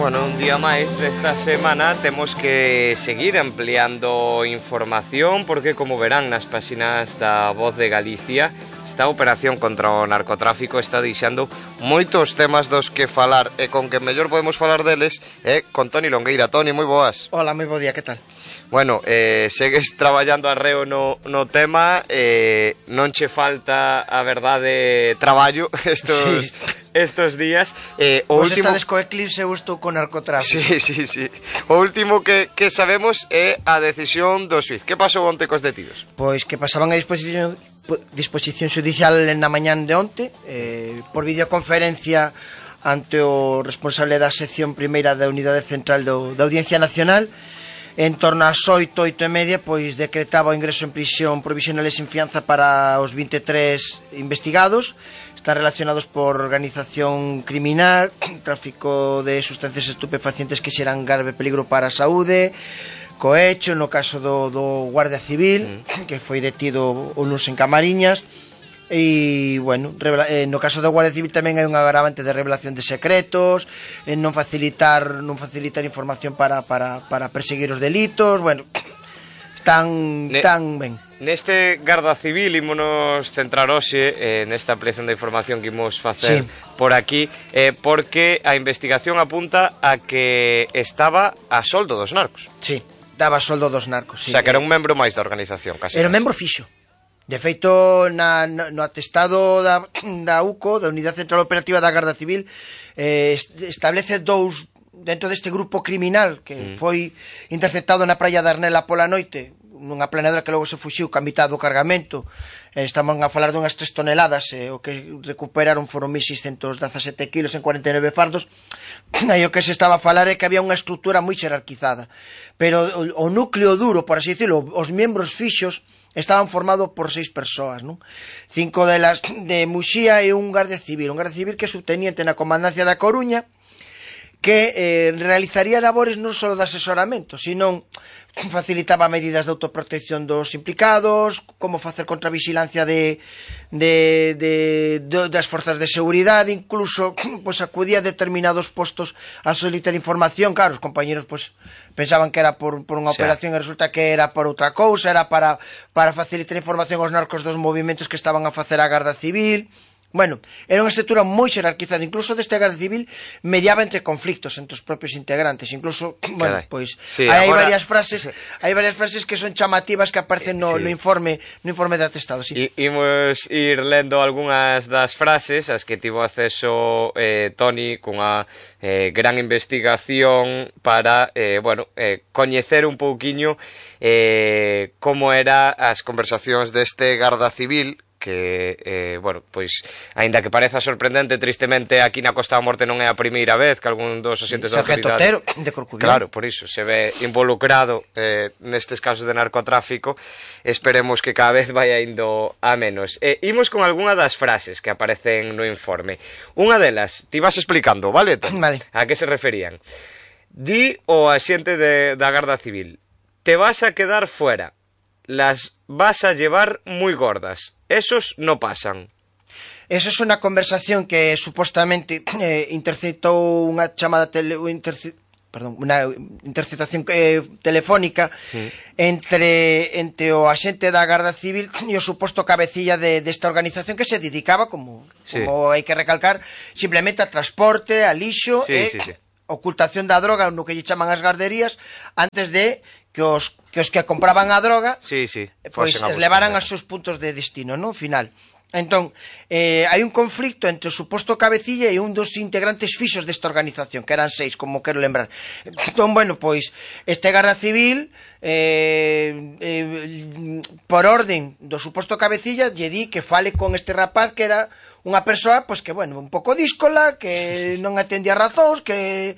Bueno, un día máis desta semana temos que seguir ampliando información porque, como verán nas páxinas da Voz de Galicia, esta operación contra o narcotráfico está deixando moitos temas dos que falar, e con que mellor podemos falar deles é con Toni Longueira. Toni, moi boas. Hola, moi bo día, que tal? Bueno, segues traballando arreo no tema, non che falta, a verdade, traballo estos días. O último... estades co eclipse, eu estou con narcotráfico. Sí. O último que sabemos é a decisión do xuiz. Que pasou onte cos detidos? Pois que pasaban a disposición xudicial na mañán de onte, por videoconferencia ante o responsable da sección primeira da Unidade Central da Audiencia Nacional. En torno ás 8:30, pois decretaba o ingreso en prisión provisional e sin fianza para os 23 investigados. Están relacionados por organización criminal, tráfico de sustancias estupefacientes que xeran grave peligro para a saúde, cohecho, no caso do Guardia Civil, que foi detido o luns en Camariñas. E, bueno, no caso do Guardia Civil tamén hai un agravante de revelación de secretos, non facilitar información para perseguir os delitos. Bueno, están ben. Neste Garda Civil ímonos centrar hoxe nesta ampliación de información que imos facer por aquí, porque a investigación apunta a que estaba a soldo dos narcos. Sí, daba soldo dos narcos, sí. O sea, que era un membro máis da organización, casi. Era un membro fixo. De feito, no atestado da UCO, da Unidade Central Operativa da Garda Civil, establece dous dentro deste grupo criminal que foi interceptado na praia de Arnela pola noite, nunha planeadora que logo se fuxiu ca mitad do cargamento. Estaban a falar dunhas 3 toneladas, o que recuperaron foron 1.617 kilos en 49 fardos. Aí o que se estaba a falar é que había unha estrutura moi xerarquizada, pero o núcleo duro, por así dicirlo, os membros fixos estaban formados por 6 persoas, non? 5 delas de Muxía e un Guardia Civil que é subteniente na Comandancia da Coruña, que realizaría labores non só de asesoramento, sino facilitaba medidas de autoprotección dos implicados, como facer contravigilancia das forzas de seguridade, incluso pues, acudía a determinados postos a solicitar información. Claro, os compañeros pues, pensaban que era por unha operación e resulta que era por outra cousa, era para facilitar información aos narcos dos movimentos que estaban a facer a Garda Civil. Bueno, era unha estrutura moi xerarquizada, incluso deste Garda Civil mediaba entre conflictos entre os propios integrantes, incluso, bueno, pois hai varias frases que son chamativas que aparecen no informe de atestado, sí. Imos ir lendo algunhas das frases as que tivo acceso Toni cunha gran investigación para, coñecer un pouquiño como era as conversacións deste Garda Civil, que, pois, aínda que pareza sorprendente, tristemente aquí na Costa da Morte non é a primeira vez que algún dos asentes da autoridade... Sargento Otero, de Corcubión. Claro, por iso, se ve involucrado nestes casos de narcotráfico. Esperemos que cada vez vaya indo a menos. Imos con algunha das frases que aparecen no informe. Unha delas, ti vas explicando, vale? Vale. A que se referían? Di o axente da Garda Civil: te vas a quedar fuera, las vas a llevar muy gordas. Esos no pasan. Eso es una conversación que supuestamente interceptou unha chamada unha interceptación telefónica entre o axente da Garda Civil e o suposto cabecilla desta organización que se dedicaba, como hai que recalcar, simplemente a transporte, a lixo ocultación da droga no que lle chaman as garderías, antes de que os que compraban a droga pois levaran aos seus puntos de destino, no final. Entón, hai un conflicto entre o suposto cabecilla e un dos integrantes fixos desta organización, que eran 6, como quero lembrar. Entón, bueno, pois este Garda Civil por orden do suposto cabecilla lle di que fale con este rapaz, que era unha persoa, pois que, bueno, un pouco díscola, que non atendía razóns, que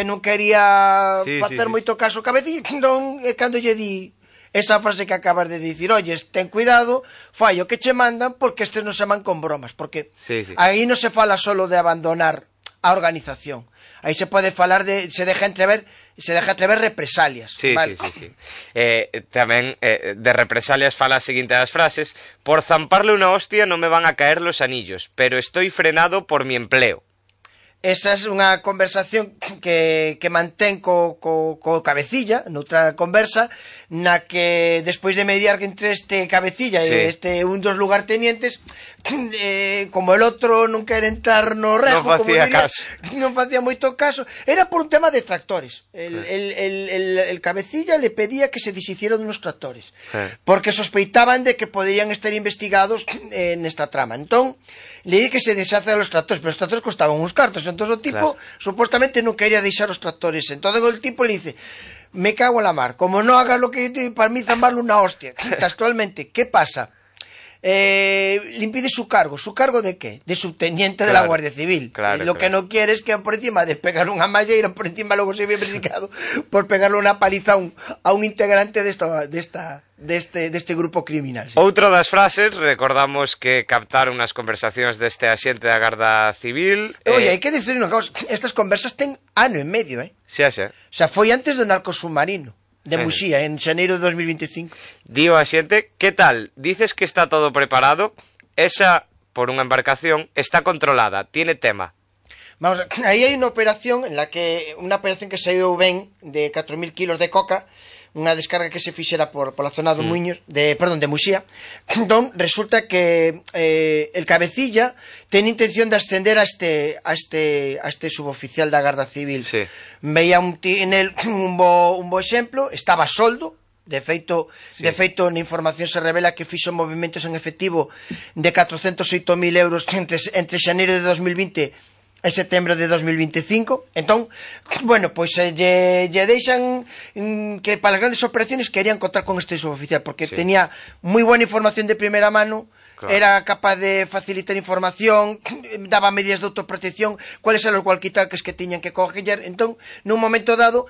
non quería facer moito caso cabecilla. Entón, cando lle di esa frase que acabas de dicir, oyes, ten cuidado, fai o que che mandan, porque estes non se man con bromas, porque aí non se fala solo de abandonar a organización, aí se pode falar se deja entrever represalias. Tamén de represalias fala a seguinte das frases: por zamparle unha hostia non me van a caer los anillos, pero estoy frenado por mi empleo. esa é unha conversación que mantén co cabecilla, noutra conversa, na que despois de mediar entre este cabecilla e un dos lugartenientes, como el outro non quere entrar no rejo, non facía moito caso, era por un tema de tractores. El cabecilla le pedía que se deshicieran unos tractores, porque sospeitaban de que podían estar investigados nesta trama. Entón, le di que se deshace de los tractores, pero os tractores costaban uns cartos. Entón o tipo supuestamente non quería deixar os tractores. Entón o tipo le dice, me cago en la mar, como no hagas lo que yo te digo, para mí zambarlo una hostia. Actualmente, ¿qué pasa? Le impide su cargo de qué? De subteniente de la Guardia Civil. Lo que no quiere es que por encima de pegar unha malleira, por encima luego se ve investigado por pegarle unha paliza a un integrante deste grupo criminal. Outra das frases, recordamos que captaron as conversacións deste axente da Garda Civil. Oye, hai que dicir unha cosa, estas conversas ten ano e medio, Sí. O sea, foi antes do narcosubmarino de Muxía, en xaneiro de 2025. Dio a xente, que tal? Dices que está todo preparado? Esa, por unha embarcación, está controlada, tiene tema. Vamos, aí hai unha operación que saiu ben de 4.000 kilos de coca, unha descarga que se fixera por la zona de Muiños, de Muxía. Entón, resulta que el cabecilla ten intención de ascender a este suboficial da Garda Civil. Veía en él un bo exemplo, estaba a soldo. De feito, na información se revela que fixo movimentos en efectivo de 408.000 euros entre xaneiro de 2020 en setembro de 2025. Entón, bueno, pois lle deixan que para as grandes operaciones querían contar con este suboficial, porque tenía moi buena información de primeira mano, era capaz de facilitar información, daba medidas de autoprotección, cuáles eran os walkie-talkies que tiñan que coger. Entón, nun momento dado,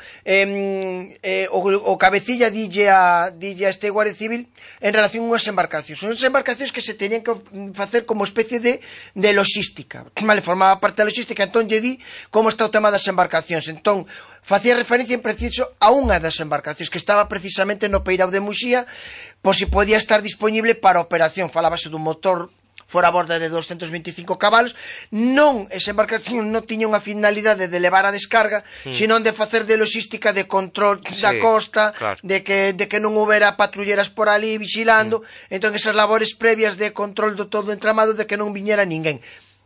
o cabecilla dille a este Guardia Civil en relación a unhas embarcacións que se tenían que facer como especie de logística. Vale, formaba parte da logística. Entón lle di como está o tema das embarcacións. Entón facía referencia en preciso a unha das embarcacións que estaba precisamente no peirao de Muxía, por si podía estar disponible para a operación. Falábase dun motor fora a borda de 225 cabalos. Esa embarcación non tiña unha finalidade de levar a descarga, sino de facer de logística, de control da costa, de que non houbera patrulleras por ali vigilando. Entón esas labores previas de control do todo entramado, de que non viñera ninguén.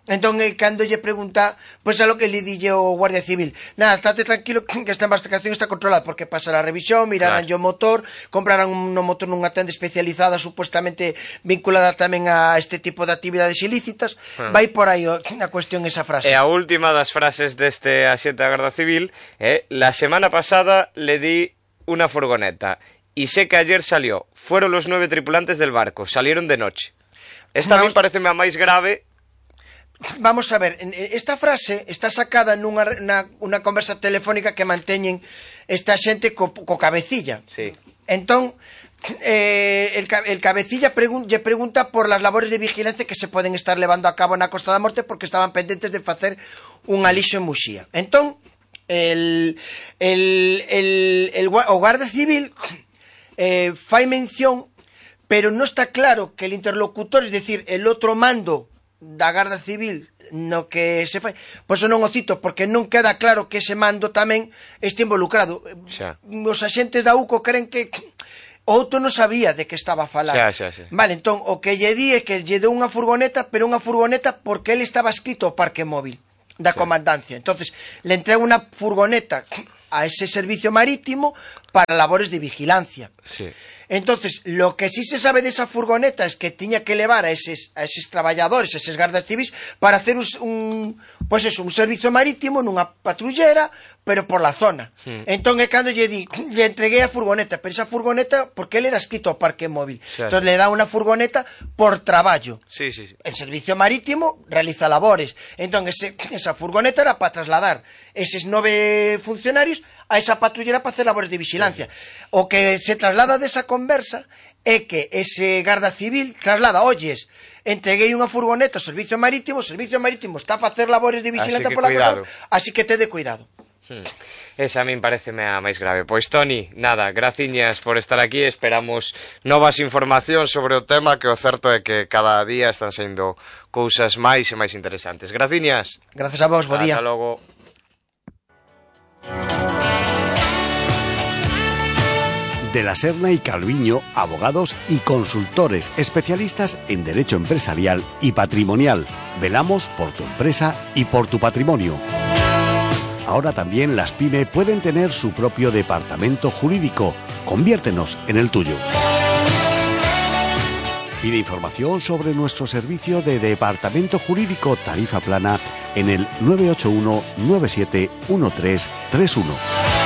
Entón, cando lle pregunta, pois a lo que le dille o Guardia Civil, nada, estate tranquilo que esta embarcación está controlada, porque pasará a revisión, mirarán o motor, comprarán un motor nunha tenda especializada, supuestamente vinculada tamén a este tipo de actividades ilícitas. Vai por aí a cuestión esa frase. E a última das frases deste axente da Garda Civil é: la semana pasada le di una furgoneta y sé que ayer salió, fueron los 9 tripulantes del barco, salieron de noche. Esta a mí pareceme a máis grave. Vamos a ver, esta frase está sacada nunha conversa telefónica que manteñen esta xente co cabecilla. Entón, el cabecilla lle pregunta por las labores de vigilancia que se poden estar levando a cabo na Costa da Morte, porque estaban pendentes de facer un alixo en Muxía. Entón, o Guardia Civil fai mención, pero non está claro que el interlocutor, es decir, el outro mando da Garda Civil no que se fai, pois non o cito porque non queda claro que ese mando tamén este involucrado. Os axentes da UCO creen que o outro non sabía de que estaba a falar. Vale, entón o que lle di é que lle deu unha furgoneta, pero unha furgoneta porque ele estaba escrito ao parque móvil da comandancia. Entonces le entrega unha furgoneta a ese servicio marítimo para labores de vigilancia. Entonces, lo que sí se sabe de esa furgoneta es que tiña que levar a eses traballadores, a eses gardas civis, para hacer un servicio marítimo nunha patrullera, pero por la zona. Entón, cando lle entreguei a furgoneta, pero esa furgoneta, porque ele era escrito ao parque móvil. Entón, le dá unha furgoneta por traballo. El servicio marítimo realiza labores. Entón, esa furgoneta era para trasladar eses 9 funcionarios a esa patrullera para hacer labores de vigilancia. O que se traslada desa conversa é que ese garda civil traslada, oyes, entreguei unha furgoneta ao servicio marítimo está a facer labores de vigilancia pola costa, así que te de cuidado. Esa a min pareceme a máis grave. Pois, Toni, nada, graciñas por estar aquí. Esperamos novas informacións sobre o tema, que o certo é que cada día están saindo cousas máis e máis interesantes. Graciñas. Gracias a vos, bo día. Hasta logo. De la Serna y Calviño, abogados y consultores especialistas en derecho empresarial y patrimonial. Velamos por tu empresa y por tu patrimonio. Ahora también las PYME pueden tener su propio departamento jurídico. Conviértenos en el tuyo. Pide información sobre nuestro servicio de departamento jurídico tarifa plana en el 981 97 1331.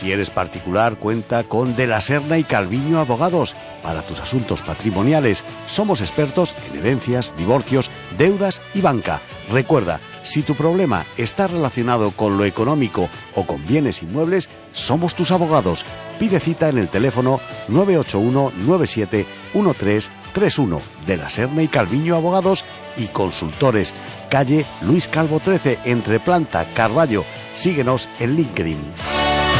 Si eres particular, cuenta con De la Serna y Calviño Abogados. Para tus asuntos patrimoniales, somos expertos en herencias, divorcios, deudas y banca. Recuerda, si tu problema está relacionado con lo económico o con bienes inmuebles, somos tus abogados. Pide cita en el teléfono 981 97 1331. De la Serna y Calviño Abogados y Consultores. Calle Luis Calvo 13, entre Planta, Carballo. Síguenos en LinkedIn.